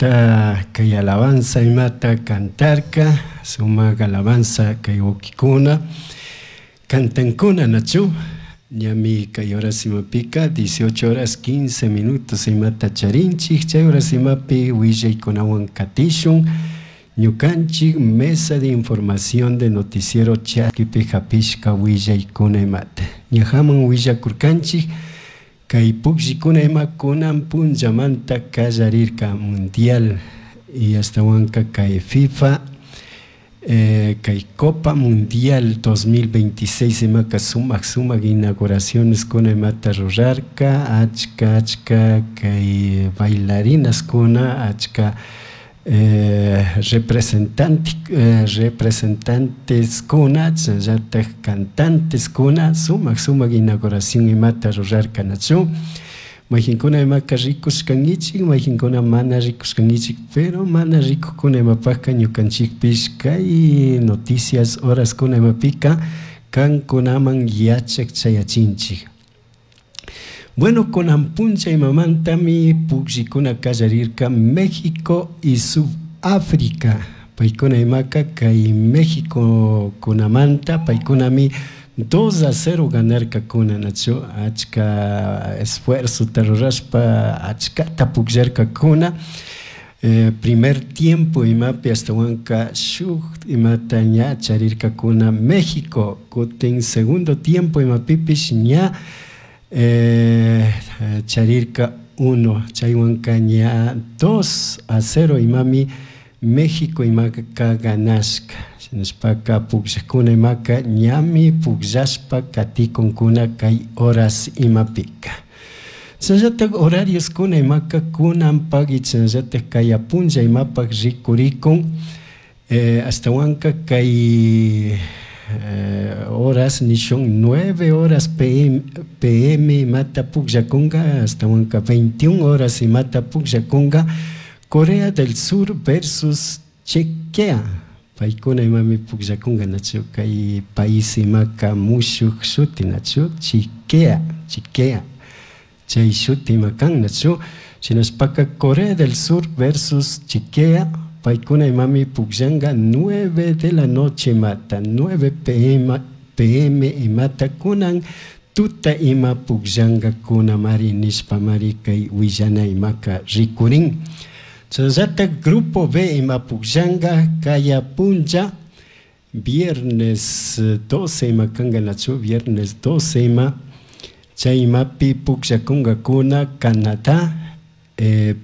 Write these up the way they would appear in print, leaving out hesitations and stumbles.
Sumajta kay alabanza imata cantarka, sumak alabanza kay wawkikuna cantankuna nachu ñami kay horas imapika 18 horas 15 minutos imata charinchik chay horas imapi willaykunawan katishun ñukanchik mesa de información de noticiero Chaskipi hapishka willaykuna imata ñajaman willakurkanchik kay pukllikuna ima kunan punllamanta kallarirka mundial y ashtawanka kay FIFA kay Copa Mundial 2026 imaka sumak sumak inauguraciones kuna imata rurarka achka achka kay bailarinas kuna achka representante representantes kuna chashnallatak cantantes kuna sumak sumak inauguración imata rurarka nachu mayjinkuna imaka rikushkankichik mayjinkuna mana rikushkankichik pero mana rikukuna imapakka ñukanchikpish kay noticias horaskuna imapika kankunaman yachak chayachinchik. Bueno, kunan puncha imamantami pukllikuna kallarirka México y Sudáfrica paykuna imaka kay México kunamanta paykunami 2-0 ganarkakuna nachu achka esfuerzota rurashpa achkata pukllarkakuna primer tiempo imapi ashtawanka shuk imata ña charirkakuna México kutin segundo tiempo imapipish ña charirka 1 chaywanka ña 2-0 imami México imaka ganashka shinashpaka pukllakuna imaka ñami pukllashpa katikunkuna kay horas imapika. Chashnallatak horarioskuna imaka kunanpak y chashnallatak kaya punlla imapak rikurikun ashtawanka kay horas nishun 9 horas pm imata pukllakunka ashtawanka 21 horas imata pukllakunka Corea del Sur versus Chequia paykuna imami pukllakunka nachu kay país imaka mushuk shuti nachu Chiquea Chiquea chay shuti ima kan nachu shinashpaka Corea del Sur versus Chiquea paykuna imami pukllanka 9 de la noche imata 9 pm imata kunan tuta ima pukllankakuna mari nishpa mari kay willana imaka rikurin. Chashnallatak Grupo B ima pukllanka kaya punlla viernes 12 ima kanka nachu viernes 12 ima chay imapi pukllakunkakuna Canadá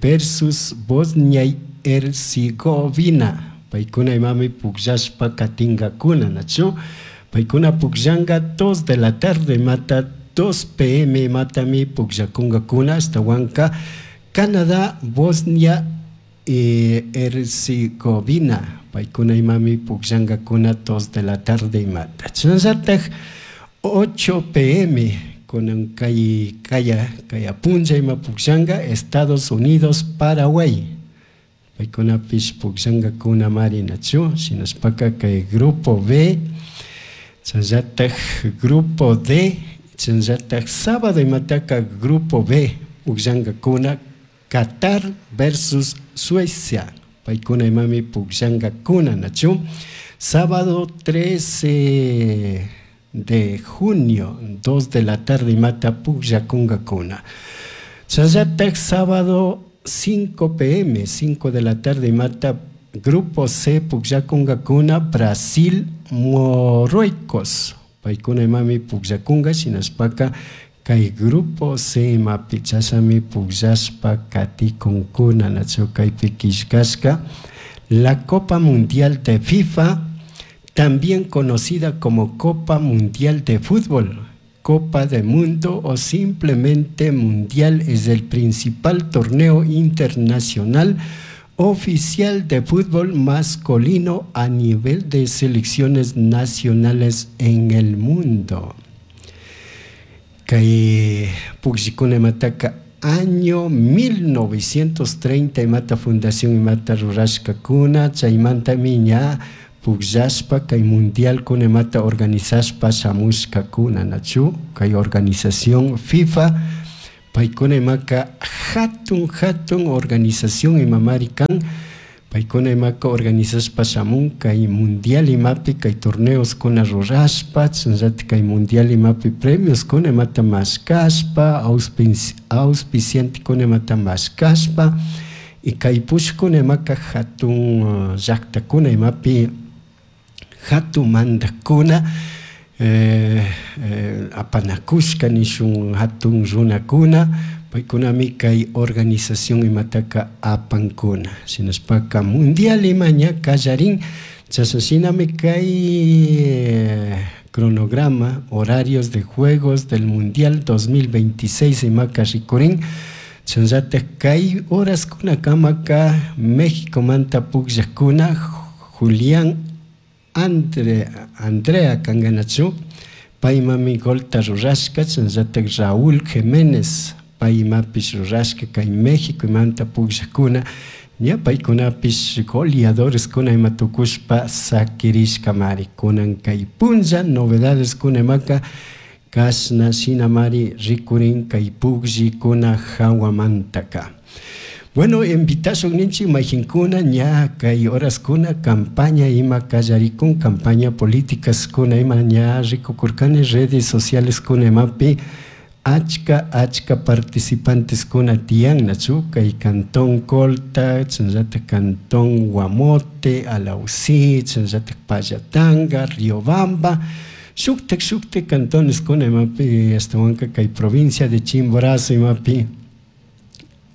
versus Bosnia y Herzegovina paykuna imami pukllashpa katinkakuna nachu paykuna pukllanka 2 de la tarde imata 2 pm imatami pukllakunkakuna ashtawanka Canadá Bosnia y Herzegovina paykuna imami pukllankakuna 2 de la tarde imata chashnallatak 8 pm kunan kay kaya kaya punlla ima pukllanka Estados Unidos Paraguay paykunapish pukllankakuna mari nachu shinashpaka kay Grupo B chashnallatak Grupo D chashnallatak sábado imataka Grupo B pukllankakuna Qatar versus Suecia paykuna imami pukllankakuna nachu sábado 13 de junio 2 de la tarde imata pukllakunkakuna chashnallatak sábado 5 pm 5 de la tarde imata Grupo C pukllakunkakuna Brasil Marruecos paykuna imami pukllakunka shinashpaka kay Grupo C imapi chashami pukllashpa katikunkuna nachu kaypi killkashka la Copa Mundial de FIFA también conocida como Copa Mundial de Fútbol, Copa del Mundo o simplemente Mundial, es el principal torneo internacional oficial de fútbol masculino a nivel de selecciones nacionales en el mundo. Kay pukllikuna imataka año 1930 imata fundación imata rurashkakuna chaymantami ña pukllashpa kay mundial kuna imata organizashpa shamushkakuna nachu kay organización FIFA. Paykuna imaka hatun hatun organización imamari kan. Paykuna imaka organizashpa shamun kay mundial imapi kay torneoskuna rurashpa, chashnallata kay mundial imapi premioskuna imata mashkashpa, auspiciantekuna imata mashkashpa, y kay pushkuna imaka hatun llaktakuna imapi hatun mandakuna apanakushka nishun hatun runakuna, paykunami kay organización imataka apankuna. Shinashpaka mundial ima ña kallarin, chashna shinami kay cronograma, horarios de juegos del mundial 2026 imaka rikurin. Chashnallata kay horaskunakamaka Mexicomanta pukllakuna Julián Andrea kanganachu, paymami golta rurashka, chashnallata Raúl Jiménez paymapish rurashka kay Mexicomanta pukllakuna, ña paykunapish goleadoreskuna ima tukushpa sakirishkamari. Kunan kay punlla novedadeskuna imaka kashna shinamari rikurin kay pukllikuna hawamantaka. Bueno, invitashun ninchik mayjinkuna ña kay horaskuna campaña ima kallarikun, campaña políticaskuna ima ña rikukurkani redes socialeskuna imapi achka achka participanteskuna tiyan, nachu kay cantón Colta, chashnallata cantón Guamote, Alausí, chashnallata Pallatanga, Riobamba, shuktak shuktak cantoneskuna imapi ashtawanka kay provincia de Chimborazo imapi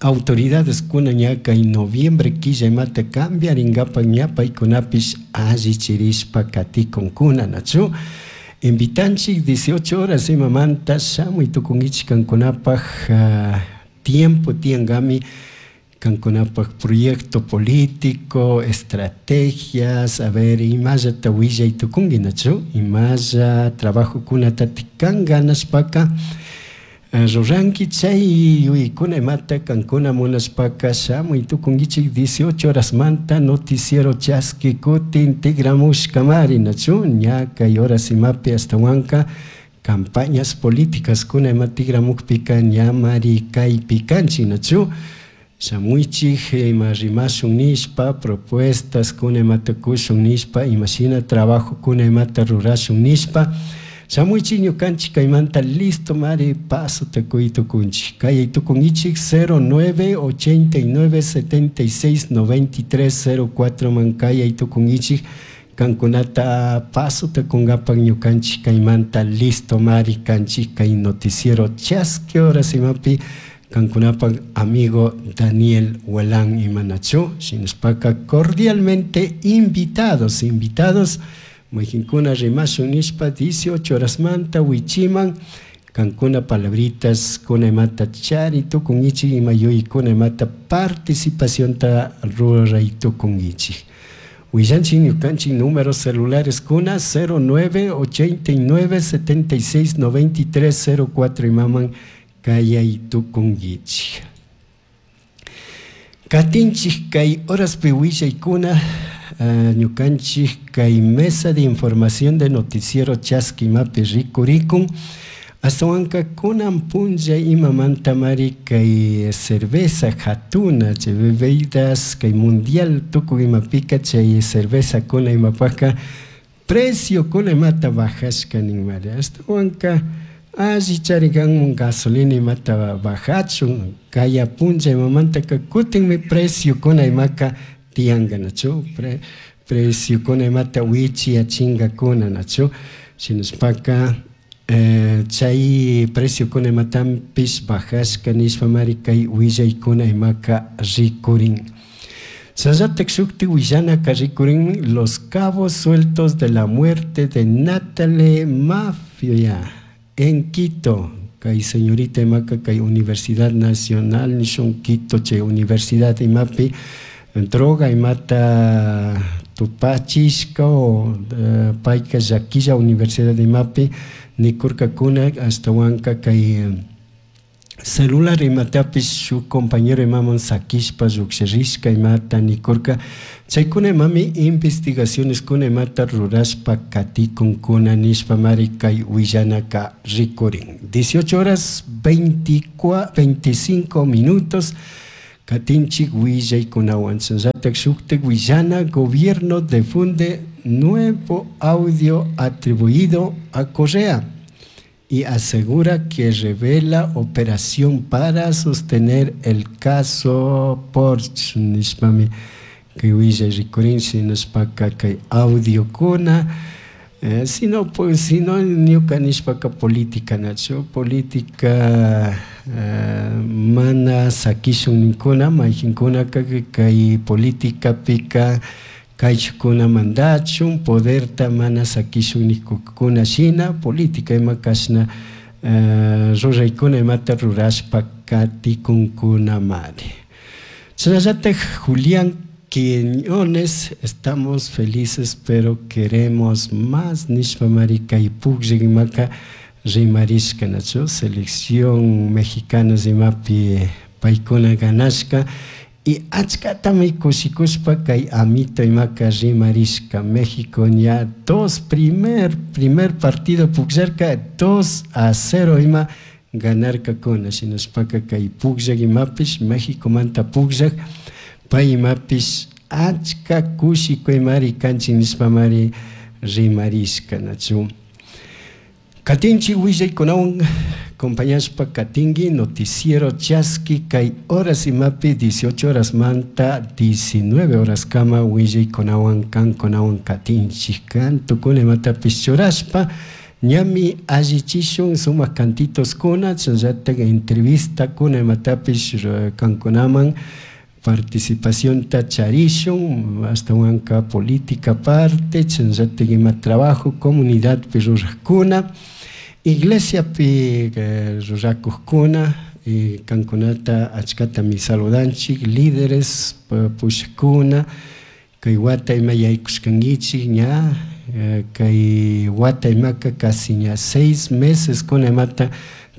autoridades kuna ña kay noviembre killa imata cambiarinkapak ña paykunapish allichirishpa katikunkuna, nachu. Invitanchik 18 horas imamanta shamuy tukunkichik kankunapak tiempo tiyankami kankunapak proyecto político, estrategias, a ver imallata willay tukunki, nachu, imalla trabajokunatatik kan ganashpaka ruranki chay yuyaykuna imata kankuna munashpaka shamuy tukunkichik 18 horas manta noticiero chaski kutin tigramushkamari, nachu, ña kay horas imapi ashtawanka campañas políticas kuna ima tigramukpika ñamari kaypi kanchik, nachu. Shamuychik ima rimashun nishpa, propuestas kuna imata kushun nishpa, imashina trabajo kuna imata rurashun nishpa. Shamuychik ñukanchik kaymanta listo mari paso tukuy tukunchik. Kay tukunkichik 09 89 76 93 04 man kay tukunkichik kankunata paso tukunkapak ñukanchik kaymanta listo mari kanchik kay noticiero chaski horas imapi kankunapak amigo Daniel Huelán imanachu. Shinashpaka cordialmente invitados, invitados mayjinkuna rimashun nishpa 18 horas manta wichiman kankuna palabritas kuna imata chari tukunkichik ima yuyaykuna imata participacionta ruray tukunkichik. Willanchik ñukanchik números celulares kuna 09 89 76 93 04 imaman kayay tukunkichik. Katinchik kay horaspi willaykuna ñukanchik kay mesa de información de noticiero chaski imapi rikurikun. Ashtawanka kunan punlla imamanta mari kay cerveza hatuna chay bebidas kay mundial tukuy imapika chay cerveza kuna imapaka precio kuna imata bajashka ninmari. Ashtawanka alli charikanmun gasolina imata bajachun kaya punlla imamantaka kutinmi precio kuna imaka tiyanka, nachu, precio kuna imata wichiyachingakuna, nachu. Shinashpaka chay precio kuna imatanpish bajashka nishpa mari kay willaykuna imaka rikurin. Chashnallata shukti willanaka rikurin los cabos sueltos de la muerte de Natalie Mafia en Quito. Kay señorita imaka kay Universidad Nacional nishun Quito chay Universidad imapi droga imata tupachishka o payka llakilla Universidad imapi nikurkakuna ashtawanka kay Celular imatapish shuk compañero imaman sakishpa llukshirishka imata nikurka. Chaykuna imami investigacioneskuna imata rurashpa katikunkuna nishpamari kay willanaka rikurin. 18 horas 24, 25 minutos. Katinchik willaykunawan. Shinallatak shuktik willana, gobierno difunde nuevo audio atribuido a Correa y asegura que revela operación para sostener el caso Porsche. Nishpami kay willay rikurin, shinashpaka kay audiokuna, sino pues sino ñuka nishpaka política nachu política mana sakishun ninkuna mayjinkunaka kay politikapika kaychukuna mandachun poderta mana sakishun nikukuna shina política ima kashna ruraykuna imata rurashpa katikunkunamari. Shinallatak Julián Quiñones, estamos felices pero queremos más nishpamari kay pukllak imaka rimarishka nachu selección mexicana imapi paykuna ganashka y achkatami kushikushpa kay amito imaka rimarishka. México ña dos primer partido pukllarka 2-0 ima ganarkakuna, shinashpaka kay pukllak imapish Mexicomanta pukllak pay imapish achka kushikuymari kanchik nishpamari rimarishka nachu. Katinchik willaykunawan acompañashpa katinki noticiero chaski kay horas imapi 18 horas manta 19 horas kama willaykunawan kankunawan katinchik kantukuna imatapish churashpa ñami allichishun sumak cantitoskuna chayllatak entrevistakuna imatapish kankunaman participacionta charishun ashtawanka política parte chayllatak ima trabajo comunidadpi rurakkuna iglesiapi rurakukkuna kankunata achkatami saludanchik líderes pushakuna kay wata ima yaykushkankichik ña kay wata imaka casi ña 6 meses kuna imata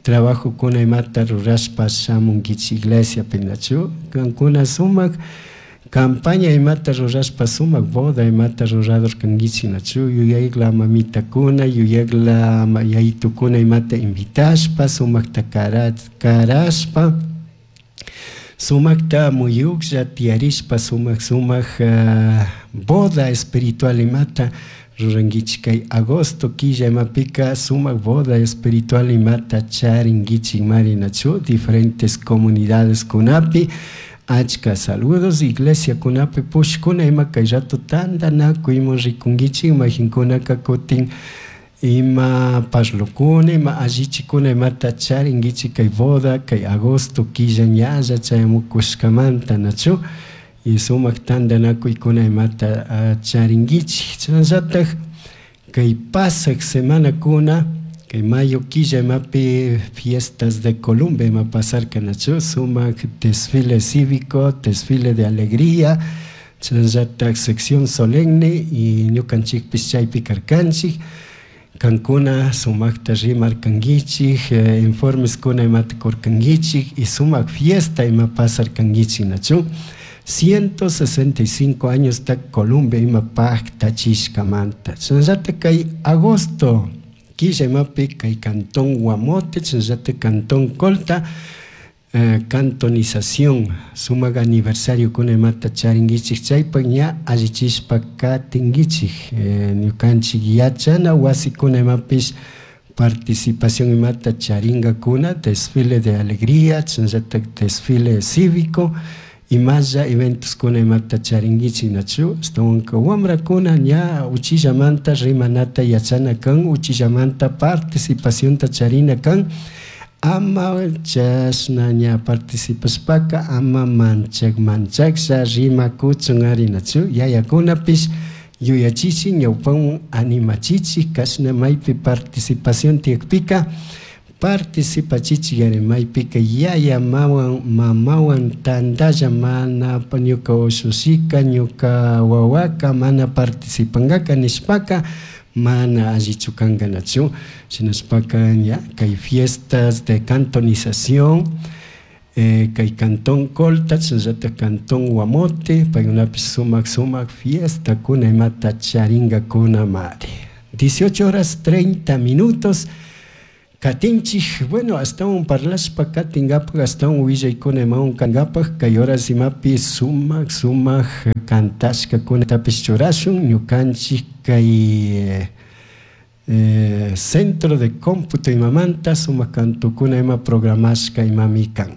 trabajo kuna imata rurashpa shamunkichik iglesiapi nachu kankuna sumak campaña imata rurashpa sumak boda imata rurador kankichik nachu yuyakla mamitakuna yuyakla yayitukuna imata invitashpa sumakta karashpa sumakta muyuklla tiyarishpa sumak sumak boda espiritual imata rurankichik kay agosto killa imapika sumak boda espiritual imata charinkichik mari nachu diferentes comunidades kunapi achka saludos iglesia kunapi pushkuna ima kay rato tantanakuyman rikunkichik mayjinkunaka kutin ima parlukuna ima allichikuna imata charinkichik kay boda kay agosto killa ñalla chayamukushkamanta nachu y sumak tantanakuykuna imata charinkichik. Chayllatak kay pasak semanakuna kay mayo killa imapi fiestas de Colombia ima pasarka nachu sumak desfile cívico, desfile de alegría, chayllatak sección solemne y ñukanchikpish chaypi karkanchik kankuna sumakta rimarkankichik informeskuna imata kurkankichik y sumak fiesta ima pasarkankichik nachu 165 años ta Colombia ima paktachishkamanta. Chayllatak kay agosto killa imapi kay cantón Guamote, chayllatak cantón Colta, cantonización sumak aniversario kuna imata charinkichik chaypak ña allichishpa katinkichik ñukanchik yachana wasikuna imapish participación imata charinkakuna desfile de alegría, chayllatak desfile cívico imalla eventos kuna imata charinkichik nachu ashtawanka wamrakuna ña uchillamanta rimanata yachana kan uchillamanta participacionta charina kan ama chashna ña participashpaka ama manchak manchaklla rimakuchun ari nachu yayakunapish yuyachichik ñawpawan animachichik kashna maypi participación tiyakpika participachichik ari maypika yaya mamawan tantalla mana ñuka ushushika ñuka wawaka mana participankaka nishpaka Mana allichu kankanachu. Shinashpaka ña kay fiestas de cantonización kay cantón Colta chashnallatak cantón Guamote paykunapish sumak sumak fiestakuna imata charinkakunamari. 18 horas 30 minutos katinchik. Bueno, ashtawan parlashpa katinkapak, ashtawan willaykuna imawan kankapak, kay horas imapi sumak sumak cantashkakunatapish churashun ñukanchik kay centro de cómputo imamanta sumak cantukuna ima programashka imami kan.